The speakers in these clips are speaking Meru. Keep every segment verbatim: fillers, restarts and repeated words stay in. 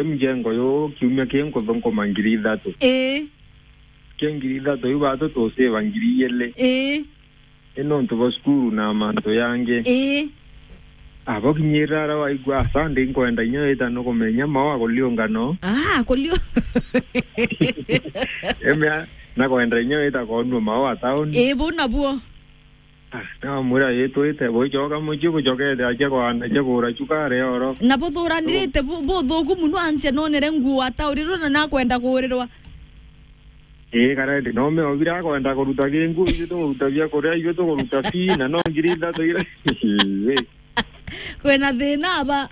mjengo yo kiumia kii nkuthunkuma ngiri ithatu. Ii. Kia ngiri ithatu iu batu tusiva ngiri ijiri. Ii. Ii nontu bwa cukuru na mantu yangi. Ii. Abo kinyirira ara waigua Sunday nkwenda inya wita nukumenya mawa kuliungano. Ah, kulio. Emea, nakwenda inya wita konua mawa town. Ii, bu nabuo. Ah, namwira, "Ii, twite, buicoka mucii bucokete acia kwana, acia kura cukari oro." Na buthuranirite bu-, buthuku muno, ansia nonere nguo ataurirwe na nakwenda kuurirwa. Ii, karendi, no me obira akwenda kuruta kingu, ithu tukuruta bia kuria, ithu tukuruta fee, na no ngiri ithatu ira. Ii. Kwina thina aba.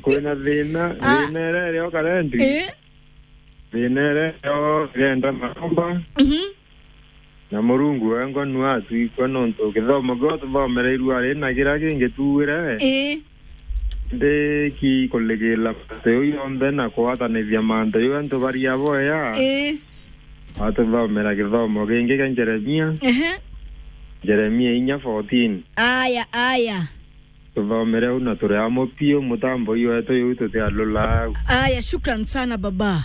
Kwina thina, ah, thina ira irio karendi. Ii. Thina ira irio irenda maromba. Mhm. Na Murungu wengwa nu atwikua nontu kithomo kiu tuthomereirue ari na kiria kingi tuwire. Ii. Ndi ki kuligila mantu jau jonthe na kugwatanithia mantu jau antu baria boya. Ii. Atuthomera kithomo kingi kia Jeremia. Ehe. Jeremia inya fourteen. Aya, aya. Tuthomere u na turi amwe piu, mutambo iwetu iu tutialula au. Aya, shukran sana baba.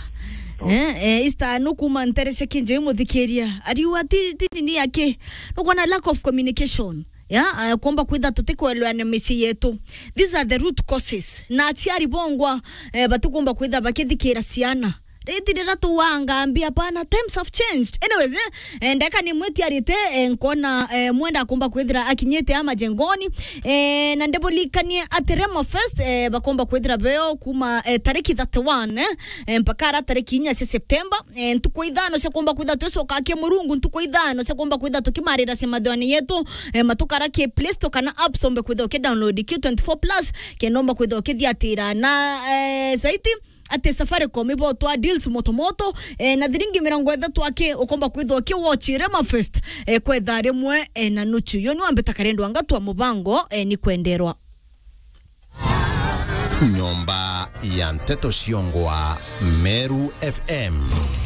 Oh. Eh, eh, Easter nu kuma ntere cia kinje muthikiria. Ariu ati, ti nini yake. Nukwona lack of communication. Ya, eh, kuomba kwitha tutikwelewana micii yetu. These are the root causes. Na aciari bongwa, eh, batikumba kwitha bakithikira ciana. Riti rira tuwanga mbi, hapana, times have changed. Anyways, eh, eh, ndeka ni mwitiarite, eh, nkona, eh, mwenda akumba kwithira akinyite ama jengoni. Eh, na ndibulikanie ati Remo Fest, eh, bakumba kwithira beo kuma, eh, tariki thirty-one, eh, eh, mpaka ara tariki inya cia September. Eh, ntuku ithano cia kumba kwitha twicoka ki Murungu, ntuku ithano cia kumba kwitha tukimarira cia mathiwani yetu, eh, matukara ki Play Store kana App Store, mbe kwitha uki download ki twenty-four plus, kenda umba kwitha ukithiatira. Na, eh, zaidi, ati Safaricom ibotwa deals moto moto, eh, na thiringi mirongo ithatu aki ukomba kwithwa uki watch Rema Fest, eh, kwa ithaa rimwe, eh, na nuchu. Yo ni wambita karendo anga twa mubango, eh, ni kwenderwa. Nyomba ya nteto ciongwa Meru F M.